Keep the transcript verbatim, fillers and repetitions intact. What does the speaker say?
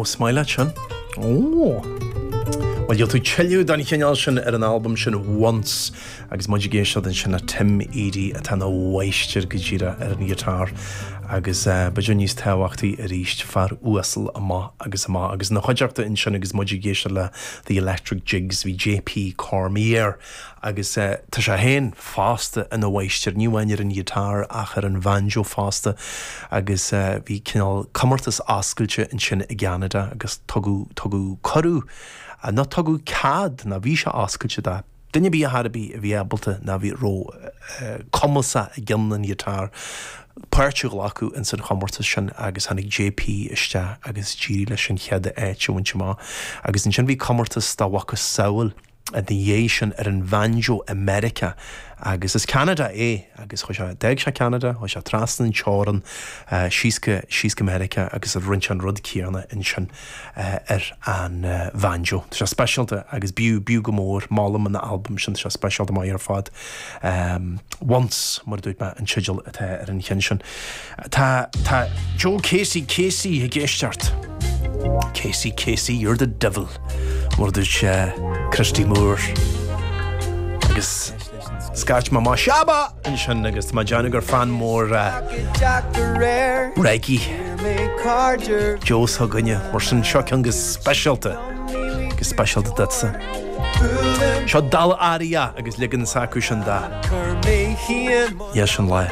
Is maith leat sin. Ó! Well gheobhaidh tú tuilleadh den chineál sin ar an albam sin Once agus muid ag éisteacht ansin le Tim Edey atá ina mháistir go díreach ar an ghiotár agus uh, b'fhéidir níos tábhachtaí arís fear uasal amach agus amach agus ina chuideachta ansin agus muid ag éisteacht le The Electric Jigs bhí JP Cormier agus uh, tá sé féin fosta ina mháistir ní amháin ar an ghiotár ach ar an bhanjo fosta agus uh, bhí cineál comórtas oscailte ansin i gCeanada agus tugadh tugadh cuireadh nó tugadh cead na bhí sé oscailte do duine ar bith ar bith a bhí ábalta ná bhí ró uh, cumasach ag an ghiotár páirt a ghlacadh in san chomórtas sin agus tháinig JP isteach agus d'éirigh leis an chéad áit a bhaint amach agus ansin bhí comórtas dá mhacasamhail a dhiaidh sin ar an bhanjo i Meiriceá agus is Canada é agus chuaigh sé d'fhág sé Canada chuaigh sé trasna an teorainn uh, síos go síos go Meiriceá agus a rinne an rud céanna ansin uh, ar an uh, bhanjo. Tá sé speisialta agus b'fhiú b'fhiú go mór molaim an album sin sé speisialta maith ar fad. Um, Once mar dúirt mé an teideal atá ar an cheann sin. Tá tá Joe Casey Casey ag éisteacht. Casey Casey you're the devil mar dúirt sé Christy Moore agus scairt má má seaba ansin agus má déanú gur fan mór reggae Joe s'againne mar sin seo ceann go speisialta go speisialta duitse. Seo Dal Aria agus ligean s'acu sin dá. Dheis an lá.